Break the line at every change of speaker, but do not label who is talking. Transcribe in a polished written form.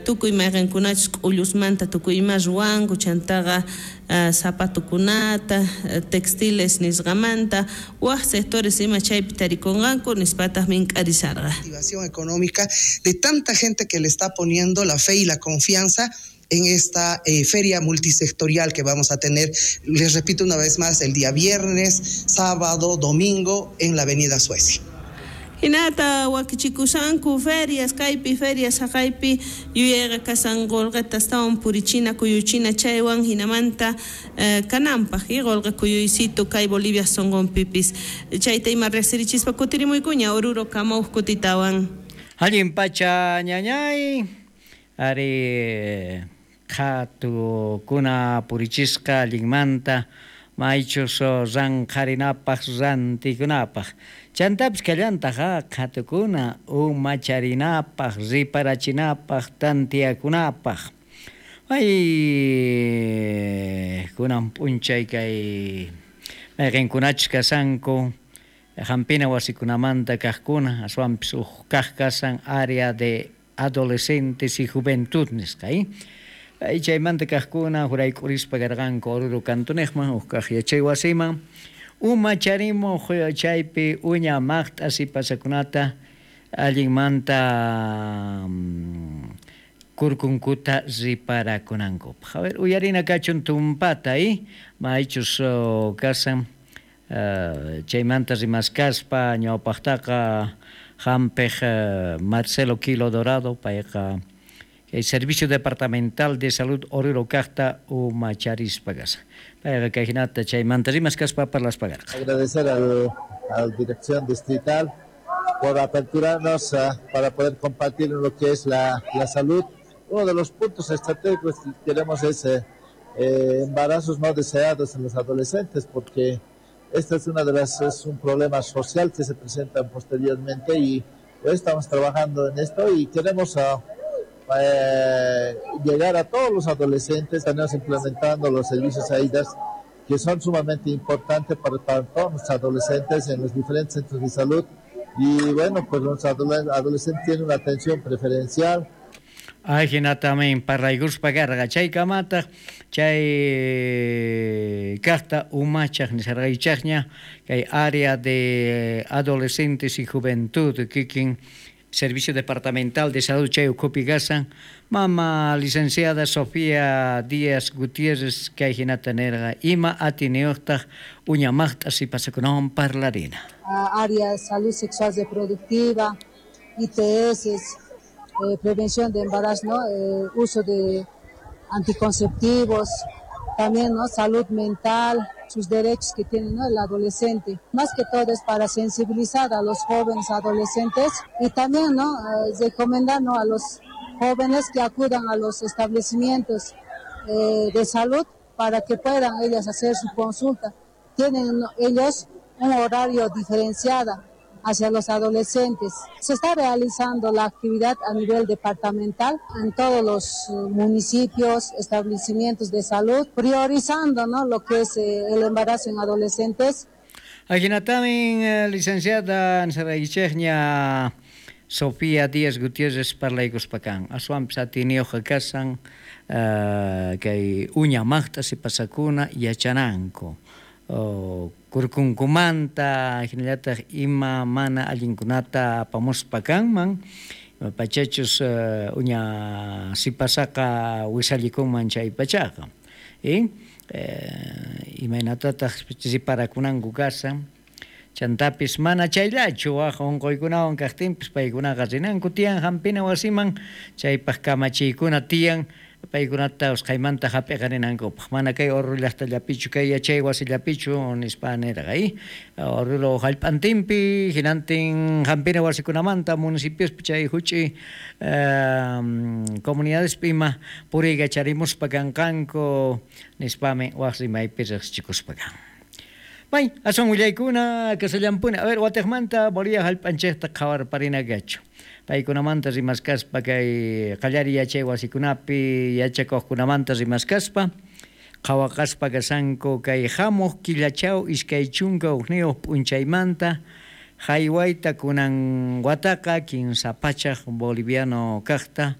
Tukuy mayqenkunachus k'ullusmanta tukuy ima ruwanku, chantaqa zapatukunata, textiles nisqamanta, waj sectores ima chaypi tarikunqanku, nispataq mink'arisharqa.
Activación económica de tanta gente que le está poniendo la fe y la confianza en esta feria multisectorial que vamos a tener, les repito una vez más, el día viernes, sábado, domingo en la Avenida Suecia.
Hinata wakichikushanku ferias, kaypi ferias haqaypi yuyayqa kasan qolqeta astawan purichina kuyuchina chaywan hinamanta kananpaq y qolqe kuyuysitu kay Bolivia sonqonpipis chayta ima riqsirichispa kutirimuykuña Oruro kamawq kutitawan.
Allin pacha ñañay, ari qhatukuna purichisqa allinmanta maychus ranqharinapaq rantikunapaq chantapis kallantaj qhatukuna umacharinapaq riparachinapaq tantiakunapaq ay kunan p'unchay kay mayqinkunachus kasanku hampina wasikunamanta kaqkuna aswanpis uj kaq kasan área de adolescentes y juventud nisqa chaymanta kaqkuna jurayk'urispa karqanku Oruro cantonejman uj kaq yachay wasiman umacharimuq chaypi uña maqt'a sipasakunata allinmanta kurkunkuta riparakunankupaq. A ver, uyarina kachun tumpata maychus kasan chaymanta rimaskaspa ñawpaqtaqa hampiq Marcelo Quilo Dorado payqa el Servicio Departamental de Salud Oruro kaqta umacharispa kasan. Payqa kay hinata chaymanta rimaskaspa parlaspa karqa.
Agradecer a la Dirección Distrital por aperturarnos para poder compartir lo que es la salud. Uno de los puntos estratégicos que queremos es embarazos no deseados en los adolescentes, porque esta es una de las, es un problema social que se presenta posteriormente y hoy estamos trabajando en esto y queremos llegar a todos los adolescentes. Estamos implementando los servicios AIDAS, que son sumamente importantes para todos los adolescentes en los diferentes centros de salud. Y bueno, pues los adolescentes tienen una atención preferencial.
Ajinatamin parlaykuspa karqa chaykamataq chay kaqta umachaq nisharqaychaqña kay área de adolescentes y juventud kikin Servicio Departamental de Salud chay ukhupi kasan mama licenciada Sofía Díaz Gutiérrez kay hinata nirqa ima atiniyuqtaq uña maqt'a sipasakunawan parlarina.
Área de salud sexual reproductiva, ITS, prevención de embarazo, ¿no? Uso de anticonceptivos, también, ¿no? Salud mental, sus derechos que tiene, ¿no? El adolescente. Más que todo es para sensibilizar a los jóvenes adolescentes y también, ¿no? Recomendar, ¿no? A los jóvenes que acudan a los establecimientos de salud para que puedan ellas hacer su consulta. Tienen ellos un horario diferenciado hacia los adolescentes. Se está realizando la actividad a nivel departamental en todos los municipios, establecimientos de salud, priorizando, ¿no? Lo que es el embarazo en adolescentes.
Ajinatamin, licenciada nisharaykichejña Sofía Díaz Gutiérrez parlaykuspakan. Aswanpis atiniyuqqa kasan kay uña maqt'a sipasakuna yachananku. Kurkunkumanta hinallataq ima mana allinkunata apamuspa kanman pachachus uña sipasaqa wisallikunman chay pachaqa. Imaynatataq riparakunanku kasan chantapis mana chayllachu waj unquykunawan kaqtinpis paykunaqa rinanku tiyan hampina wasiman chaypaq kamachiykuna tiyan paykunata usqhaymanta hap'iqarinankupaq mana kay Oruro llaqtallapichu kay yachay wasillapichu nispa nirqa Oruro hallp'antinpi hinantin hampina wasikunamanta municipiospi chay huch'i comunidadespi ima puriykacharimuspa kanqanku nispami waj rimaypi riqsichikuspa kan. May, aswan willaykuna kasallampuni. A ver, watiqmanta Bolivia hallp'anchikta qhawarparina kachu. Paykunamanta rimaskaspa kay qallari yachay wasikunapi yachakuqkunamanta rimaskaspa qhawaqaspa kasanku kay hamuq killachaw 21 p'unchaymanta haywayta kunan wataqa 3 pachak boliviano kaqta.